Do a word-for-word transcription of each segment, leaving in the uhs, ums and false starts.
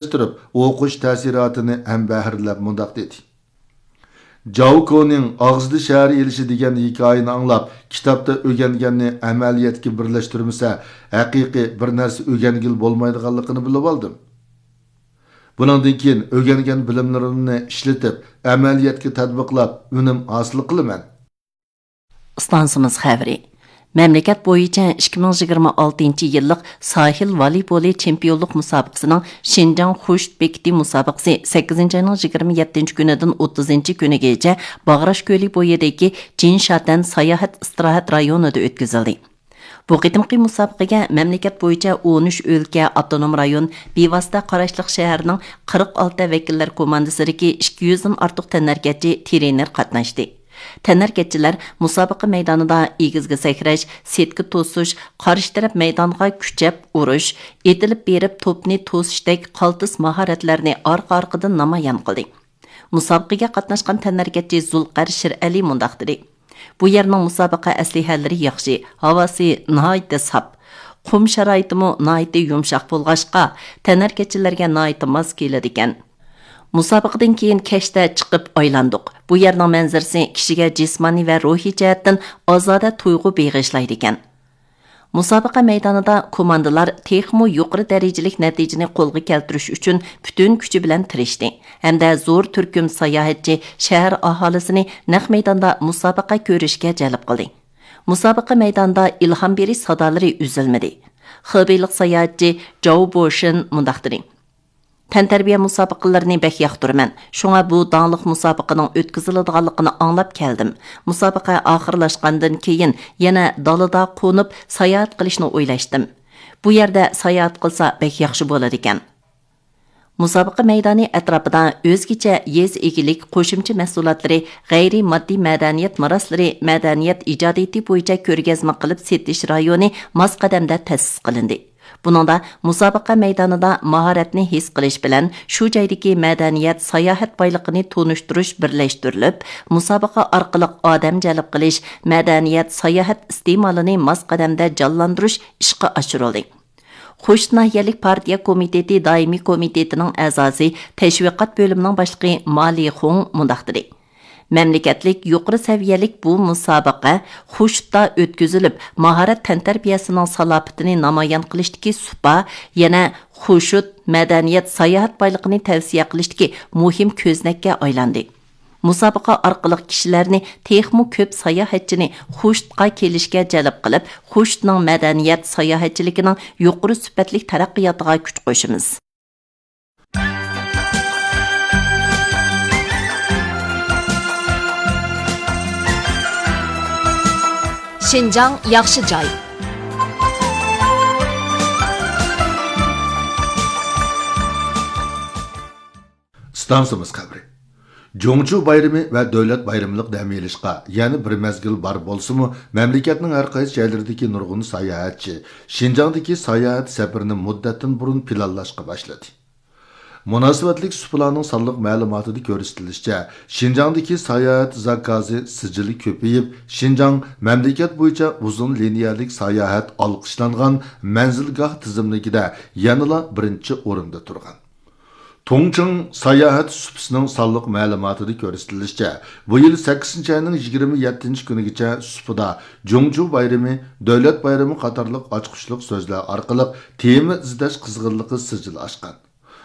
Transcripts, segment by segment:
ئوقۇش تەسىراتىنى ھەمبەھىرلەپ مۇنداق دېدى: جاۋ كونىڭ ئاغزىدا شەھەر ئېلىشى دېگەن ھېكايىنى ئاڭلاپ، كىتابتا ئۆگەنگەننى ئەمەلىيەتكە بىرلەشتۈرمىسە، ھەقىقىي بىر نەرسە ئۆگەنگىلى بولمايدىغانلىقىنى بىلىۋالدىم. بۇنىڭدىن كېيىن ئۆگەنگەن بىلىملىرىمنى ئىشلىتىپ، ئەمەلىيەتكە تەتبىقلاپ، ئۈنۈم ھاسىل قىلىمەن. ئىستانسىمىز خەۋىرى. مەملىكەت بويىچە ئىككى مىڭ يىگىرمە ئالتىنچى يىللىق ساھىل ۋالىبولى چېمپىيونلۇق مۇسابىقىسىنىڭ شىنجاڭ خۇشۇت بېكىتى مۇسابىقىسى سەككىزىنچى ئاينىڭ يىگىرمە يەتتىنچى كۈنىدىن ئوتتۇزىنچى كۈنىگىچە باغراش كۆلى بويىدىكى جىنشاتەن ساياھەت ئىستىراھەت رايونىدا ئۆتكۈزۈلدى. بۇ قېتىمقى مۇسابىقىگە مەملىكەت بويىچە ئون ئۈچ ئۆلكە، ئاپتونوم رايون، بىۋاسىتە قاراشلىق شەھەرنىڭ قىرىق ئالتە ۋەكىللەر كوماندىسىدىكى ئىككى يۈزدىن ئارتۇق تەنھەرىكەتچى، ترېنېر قاتناشتى. تەنھەرىكەتچىلەر مۇسابىقە مەيدانىدا ئېگىزگە سەكرەش، سېتكا توسۇش، قارشى تەرەپ مەيدانغا كۈچەپ ئۇرۇش، ئېتىلىپ بېرىپ توپنى توسۇشتەك قالتىس ماھارەتلەرنى ئارقا-ئارقىدىن نامايان قىلدى. مۇسابىقىگە قاتناشقان تەنھەرىكەتچى زۇلقەر شىرئەلى مۇنداق دېدى: بۇ يەرنىڭ مۇسابىقە ئەسلىھەلىرى ياخشى، ھاۋاسى ناھايىتى ساپ، قۇم شارائىتىمۇ ناھايىتى يۇمشاق بولغاچقا، تەنھەرىكەتچىلەرگە ناھايىتى ماس كېلىدىكەن. مۇسابىقىدىن كېيىن كەچتە چىقىپ ئايلاندۇق. بۇ يەرنىڭ مەنزىرىسى كىشىگە جىسمانىي ۋە روھىي جەھەتتىن ئازادە تۇيغۇ بېغىشلايدىكەن. مۇسابىقە مەيدانىدا كوماندىلار تېخىمۇ يۇقىرى دەرىجىلىك نەتىجىنى قولغا كەلتۈرۈش ئۈچۈن پۈتۈن كۈچى بىلەن تىرىشتى ھەمدە زور تۈركۈم ساياھەتچى، شەھەر ئاھالىسىنى نەق مەيداندا مۇسابىقە كۆرۈشكە جەلپ قىلدى. مۇسابىقە مەيدانىدا ئىلھام بېرىش سادالىرى ئۈزۈلمىدى. خېبېيلىق ساياھەتچى جاۋ بوشىن مۇنداق دېدى: تەنتەربىيە مۇسابىقىلىرىنى بەك ياقتۇرىمەن. شۇڭا بۇ داڭلىق مۇسابىقىنىڭ ئۆتكۈزۈلىدىغانلىقىنى ئاڭلاپ كەلدىم. مۇسابىقە ئاخىرلاشقاندىن كېيىن يەنە دالىدا قونۇپ ساياھەت قىلىشنى ئويلاشتىم. بۇ يەردە ساياھەت قىلسا بەك ياخشى بولىدىكەن. مۇسابىقە مەيدانى ئەتراپىدا ئۆزگىچە يېزا ئىگىلىك قوشۇمچە مەھسۇلاتلىرى، غەيرىي ماددىي مەدەنىيەت مىراسلىرى، مەدەنىيەت ئىجادىيىتى بويىچە كۆرگەزمە قىلىپ سېتىش رايونى ماس قەدەمدە تەسىس قىلىندى. بۇنىڭدا مۇسابىقە مەيدانىدا ماھارەتنى ھېس قىلىش بىلەن شۇ جايدىكى مەدەنىيەت، ساياھەت بايلىقىنى تونۇشتۇرۇش بىرلەشتۈرۈلۈپ، مۇسابىقە ئارقىلىق ئادەم جەلپ قىلىش، مەدەنىيەت، ساياھەت ئىستېمالىنى ماس قەدەمدە جانلاندۇرۇش ئىشقا ئاشۇرۇلدى. خوشۇت ناھىيەلىك پارتىيە كومىتېتى دائىمىي كومىتېتىنىڭ ئەزاسى، تەشۋىقات بۆلۈمىنىڭ باشلىقى ما لىخۇڭ مۇنداق دېدى: مەملىكەتلىك يۇقىرى سەۋىيەلىك بۇ مۇسابىقە خوشۇتتا ئۆتكۈزۈلۈپ، ماھارەت تەنتەربىيەسىنىڭ سالاپىتىنى نامايان قىلىشتىكى سۇپا، يەنە خوشۇت مەدەنىيەت، ساياھەت بايلىقىنى تەۋسىيە قىلىشتىكى مۇھىم كۆزنەككە ئايلاندى. مۇسابىقە ئارقىلىق كىشىلەرنى، تېخىمۇ كۆپ ساياھەتچىنى خوشۇتقا كېلىشكە جەلپ قىلىپ، خوشۇتنىڭ مەدەنىيەت ساياھەتچىلىكىنىڭ يۇقىرى سۈپەتلىك تەرەققىياتىغا كۈچ قوشىمىز. شىنجاڭ ياخشى جاي. ئىستانسىمىز خەۋىرى. جۇڭچۇ بايرىمى ۋە دۆلەت بايرىملىق دەم ئېلىشقا يەنە بىر مەزگىل بار بولسىمۇ، مەملىكەتنىڭ ھەر قايسى جايلىرىدىكى نۇرغۇن ساياھەتچى شىنجاڭدىكى ساياھەت سەپىرىنى مۇددەتتىن بۇرۇن پىلانلاشقا باشلىدى. مۇناسىۋەتلىك سۇپىلارنىڭ سانلىق مەلۇماتىدا كۆرسىتىلىشىچە، شىنجاڭدىكى ساياھەت زاكازى سىجىلى كۆپىيىپ، شىنجاڭ مەملىكەت بويىچە ئۇزۇن لىنىيەلىك ساياھەت ئالقىشلانغان مەنزىلگاھ تىزىملىكىدە يەنىلا بىرىنچى ئورۇندا تۇرغان. تۇڭچىڭ ساياھەت سۇپىسىنىڭ سانلىق مەلۇماتىدا كۆرسىتىلىشىچە، بۇ يىل سەككىزىنچى ئاينىڭ يىگىرمە يەتتىنچى كۈنىگىچە سۇپىدا جۇڭجۇ بايرىمى، دۆلەت بايرىمى قاتارلىق ئاچقۇچلۇق سۆزلەر ئارقىلىق تېما ئىزدەش قىزغىنلىقى سىجىل ئاشقان.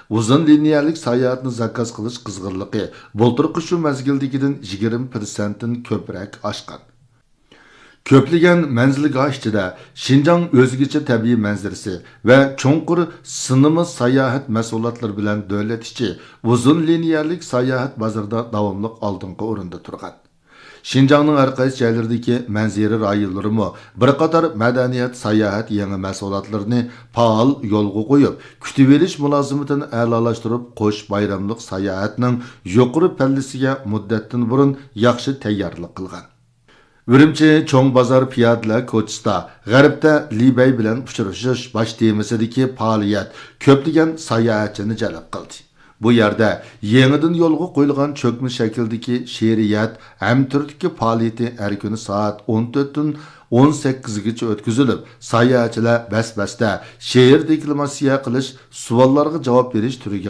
ئۇزۇن لىنىيەلىك ساياھەتنى زاكاز قىلىش قىزغىنلىقى بۇلتۇرقى شۇ مەزگىلدىكىدىن يىگىرمە پىرسەنتتىن كۆپرەك ئاشقان. كۆپلىگەن مەنزىلگاھ ئىچىدە شىنجاڭ ئۆزگىچە تەبىئىي مەنزىرىسى ۋە چوڭقۇر سىنىما ساياھەت مەھسۇلاتلىرى بىلەن دۆلەت ئىچى ئۇزۇن لىنىيەلىك ساياھەت بازىرىدا داۋاملىق ئالدىنقى ئورۇندا تۇرغان. شىنجاڭنىڭ ھەر قايسى جايلىرىدىكى مەنزىرە رايونلىرىمۇ بىر قاتار مەدەنىيەت، ساياھەت يېڭى مەھسۇلاتلىرىنى پائال يولغا قويۇپ، كۈتۈۋېلىش مۇلازىمىتىنى ئەلالاشتۇرۇپ، قوش بايراملىق ساياھەتنىڭ يۇقىرى پەللىسىگە مۇددەتتىن بۇرۇن ياخشى تەييارلىق قىلغان. ئۈرۈمچى چوڭ بازار پىيادىلەر كوچىسىدا غەربتە لى بەي بىلەن ئۇچرىشىش باش تېمىسىدىكى پائالىيەت كۆپلىگەن ساياھەتچىنى جەلپ قىلدى. بۇ يەردە يېڭىدىن يولغا قويۇلغان چۆكمە شەكىلدىكى شېئىرىيەت ھەمتۈرلۈكى پائالىيىتى ھەر كۈنى سائەت ئون تۆتتىن ئون سەككىزگىچە ئۆتكۈزۈلۈپ، ساياھەتچىلەر بەس-بەستە شېئىر دېكلاماتسىيە قىلىش، سوئاللارغا جاۋاب بېرىش تۈرىگە